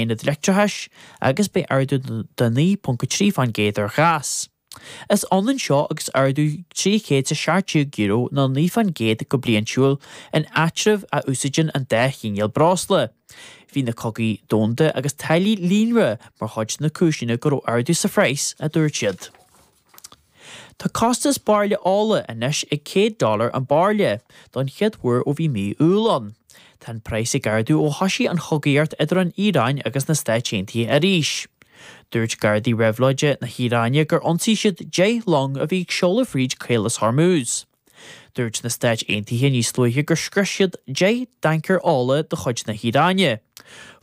Aonad leictreachais agus beidh ardú de 9.3% ar ghás. Is ionann seo agus ardú €317 nó 9% go bliantúil in áitribh a úsáideann an dá chineál breosla. Bhí na cogaí domhanda agus táillí líonra mar chuid de na cúiseanna go raibh ardú sa phraghas, a dúirt siad. Tá costas bairille ola anois ag $100 dollar an bairille, don chéad uair ó bhí mí Iúil ann. Tá an praghas ag ardú ó thoisigh an chogaíocht idir an Iaráin agus na Stáit Aontaithe arís. Dúirt Gardaí Réabhlóide na hIaráine gur ionsaigh siad 10 long a bhí ag seoladh fríd Caolas Hormuz. Dúirt na Stáit Aontaithe níos luaithe gur scrios siad 10 dtancaer ola de chuid na hIaráine.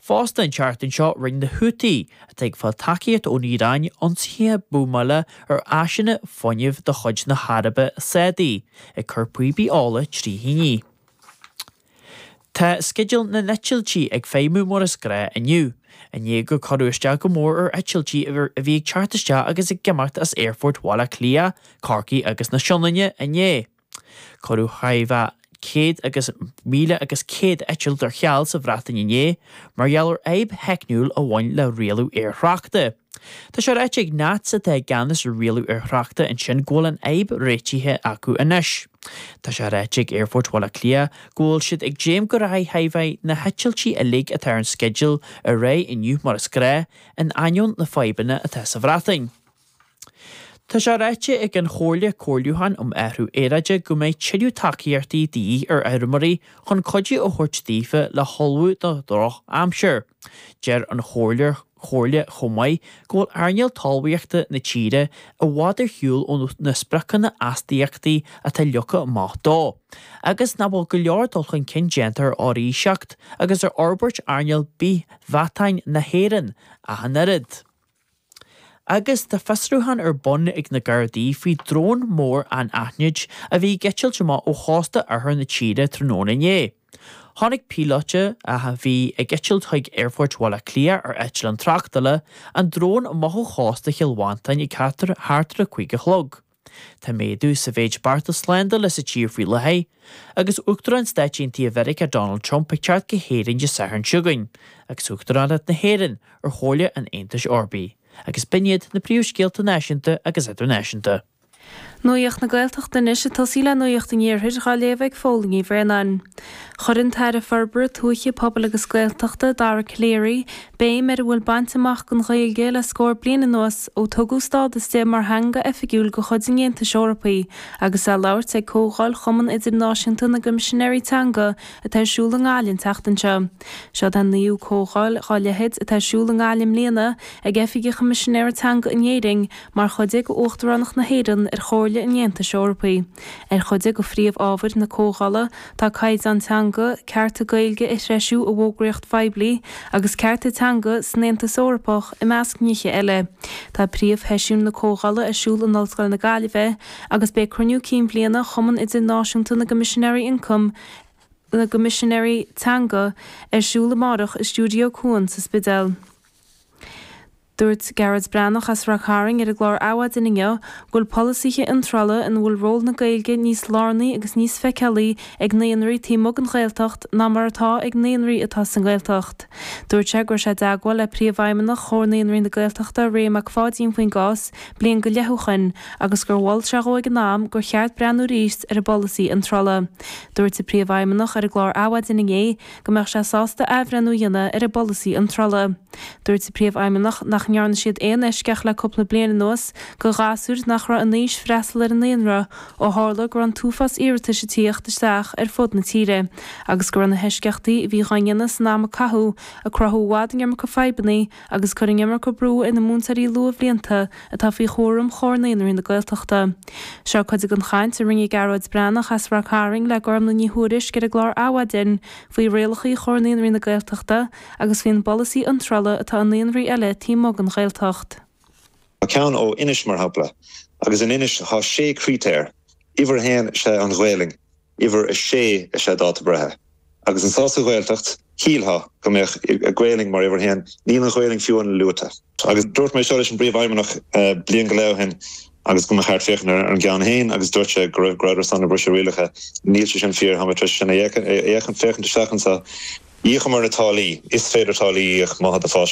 Fosta an tseachtain seo rinne na Houthi, atá ag fáil tacaíocht ón Iaráin, ionsaithe buamála ar áiseanna fuinnimh de chuid na hAraibe Sádaí, ag cur píopaí ola trí thine. Tá sceideal na n-eitiltí ag feidhmiú mar is gnáth inniu, i ndiaidh gur cuireadh isteach go mór ar eitiltí a bhí ag teacht isteach agus ag imeacht as Aerfort Bhaile Átha Cliath, Corcaigh agus na Sionainne inné. Cuireadh chóir a bheith 100 agus 1,100 eitilt ar ceal sa Bhreatain inné mar gheall ar fhadhb theicniúil a bhain le rialú aerthráchta. Tá sé ráite ag NATS atá i gceannas ar rialú aerthráchta ansin go bhfuil an fhadhb réitithe acu anois. Tá sé ráite ag Aerfort Bhaile Átha Cliath go bhfuil siad ag dréim go rachaidh chóir a bheith na heitiltí uilig atá ar an sceideal ar aghaidh inniu mar is gnáth, in ainneoin na fadhbanna atá sa Bhreatain. Tá sé ráite ag an Chomhairle Comhairliúcháin um Athrú Aeráide go mbeidh tuilleadh tacaíochtaí de dhíth ar fheirmeoirí chun cuidiú a thabhairt daofa le hullmhú do dhroch-aimsir. Deir an Chomhairle Chomhairle chomh maith go bhfuil earnáil talmhaíochta na tíre i bhfad ar shiúl ó na spriocanna astaíochtaí atá leagtha amach dó, agus nach bhfuil go leor dul chun cinn déanta ar fhoraoiseacht agus ar fhorbairt earnáil bith-mheatáin na hÉireann ach an oiread. Agus tá fiosrúchán ar bun ag na Gardaí faoi drón mór anaithnid a bhí ag eitilt amach ó chósta oirthear na tíre tráthnóna inné. Chonaic píolóta, a bhí ag eitilt chuig Aerfort Bhaile Átha Cliath ar eitleán tráchtála, an drón amach ó chósta Chill Mhantáin ag thart ar a 5 a chlog. Tá méadú sa mhéid bearta slándála sa tír faoi láthair, agus Uachtarán Stáit Aontaithe Mheiriceá Donald Trump ag teacht go hÉirinn Dé Sathairn seo chugainn, agus Uachtaránacht na hÉireann ar Chomhairle an Aontais Eorpaigh. Agus b'in iad na príomhscéalta náisiúnta agus idirnáisiúnta. Nuacht na Gaeltachta anois ag tosaí le Nuacht an Iarthair dhá léamh ag Fódhla Ní Bhraonáin. Chuir an tAire Forbartha Tuaithe, Pobail agus Gaeltachta, Dara Calleary, béim ar a bhfuil bainte amach don Ghaeilge le scór bliain anuas ó tugadh stádas di mar theanga oifigiúil de chuid an Aontais Eorpaigh agus é ag labhairt ag Comhdháil Chumann Idirnáisiúnta na gCoimisinéirí Teanga atá ar siúl i nGaillimh an tseachtain seo. Seod é an naoú comhdháil dá leithéid atá ar siúl i nGaillimh i mbliana ag Oifig an Choimisinéara Teanga in Éirinn mar chuid de Uachtaránacht na hÉireann ar Chomhairle an Aontais Eorpaigh. Ar chuid de phríomh-ábhair na comhdhála tá caighdeán teanga, cearta Gaeilge a threisiú i bhfógraíocht phoiblí agus cearta teanga san Aontas Eorpach i measc nithe eile. Tá príomhsheisiún na comhdhála ar siúl in Ollscoil na Gaillimhe agus beidh cruinniú cinn bhliana Chumann Idirnáisiúnta na gCoimisinéirí Ioncaim na gCoimisinéirí Teanga ar siúl amárach i Stiúideo Cuan sa Spidéal. Dúirt Gearóid Breathnach as Ráth Cairn ar an gclár Adhmhaidin inniu go bhfuil polasaithe iontrála ina bhfuil ról na Gaeilge níos lárnaí agus níos feiceálaí ag naíonraí taobh amuigh den Ghaeltacht ná mar atá ag naíonraí atá sa nGaeltacht. Dúirt sé go raibh sé i dteagmháil le Príomhfheidhmeannach Chomhar Naíonraí na Gaeltachta Ray Mac Pháidín faoin gcás bliain go leith ó shoin agus gur mhol sé dhó ag an am gur cheart breathnú arís ar an bpolasaí iontrála. Dúirt an Príomhfheidhmeannach ar an gclár Adhmhaidin inné go mbeadh sé sásta athbhreithniú a dhéanamh ar an bpolasaí iontrála. Dúirt an Príomhfheidhmeannach nach ndearna siad aon eisceacht le cúpla bliain anuas do ghasúir nach raibh in aois freastal ar an naíonra ó tharla go raibh an t-uafás iarratais ag tíocht isteach ar fud na tíre agus go raibh na heisceachtaí a bhí dhá ndéanamh san am a caitheadh ag cruthú i bhfad an iomarca fadhbanna agus ag cur an iomarca brú ar na múinteoirí luathbhlianta atá faoi chúram Chomhar Naíonraí na Gaeltachta. Seo cuid den chaint a rinne Gearóid Breathnach as Ráth Cairn le Gormlaith Ní Thuairisg ar an gclár Adhmhaidin faoi rialacha Chomhar Naíonraí na Gaeltachta agus faoin bpolasaí iontrála atá i naíonraí eile taobh amuigh den Ghaeltacht. Tá ceann ó Inis, mar shampla, agus in Inis tá sé critéar, uimhir a haon is ea an Ghaelainn, uimhir a sé is ea dáta breithe. Agus anso sa Ghaeltacht, shílfeá go mbeadh Gaelainn mar uimhir a haon, níl an Ghaelainn fiú amháin luaite. Agus dúirt mé seo leis an bPríomhfheidhmeannach bliain go leith ó shin agus go mba cheart féachaint ar an gceann féin agus dúirt sé go raibh go rabhadar ag briseadh rialacha. Níl sé sin fíor, tá mé tar éis sin a fhéachaint, féachaint isteach anso. Íocamar na táillí. Is féidir táillí a íoc má tá do phaiseaspórt.